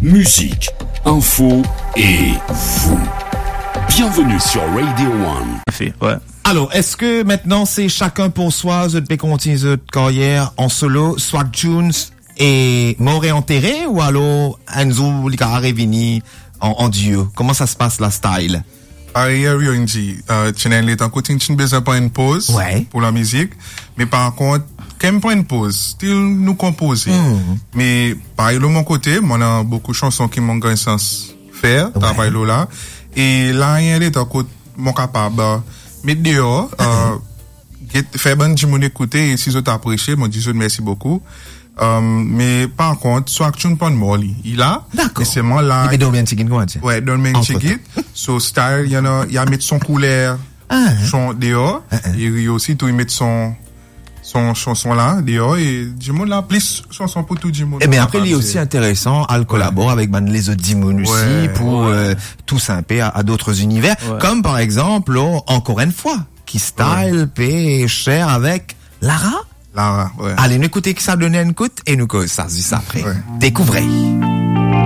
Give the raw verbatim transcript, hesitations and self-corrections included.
Musique, info et vous. Bienvenue sur Radio One. Fait, ouais. Alors, est-ce que maintenant c'est chacun pour soi, zot pe kontign zot karyer an solo, Swag Tunes e Mort et Enterré, ou alors enn zour li kapav revini an, an duo? Comment ça se passe la, style? Parey Harry inn dir, euh, ti ena enn letan kot ti, ti inn bezin pran enn poz, ouais, pou lamizik, me par kont, kan mo pran enn poz, still nou konpoze. Hmm. Me parey lor mo kote, mo ena boukou sanson ki mo gagn sans fer, ouais, travay lor la. E la, ena letan kot mo kapav, euh, met deor, euh, get, fer bann dimoun ekoute, e si zot apresie, mo dir zot mersi boukou. Euh, me par kont, Swag Tunes pa'n mor li, li la. Dakor. Me selman la, li pe dormi enn tigit, kouma dir? Ouais, dormi enn tigit. So, style, li ena, li a met son kouler, ah, son deor. Ah, ah. E li osi tou, li met son, son, son, son la deor, e dimoun la, plis sanson pou tou dimoun. E bien, apre, li osi interesan, al kolabor avek bann lezot dimoun osi, ouais, pou, ouais, euh, tous un peu à, à d'autres univers. Ouais. Comme par exemple, oh, Encore une fois, ki style, ouais, pe share avek Lara. Lara, ouais. Ale, nou ekoute ki sa donn enn kout e nou koz sa zis apre. Ouais. Découvrez.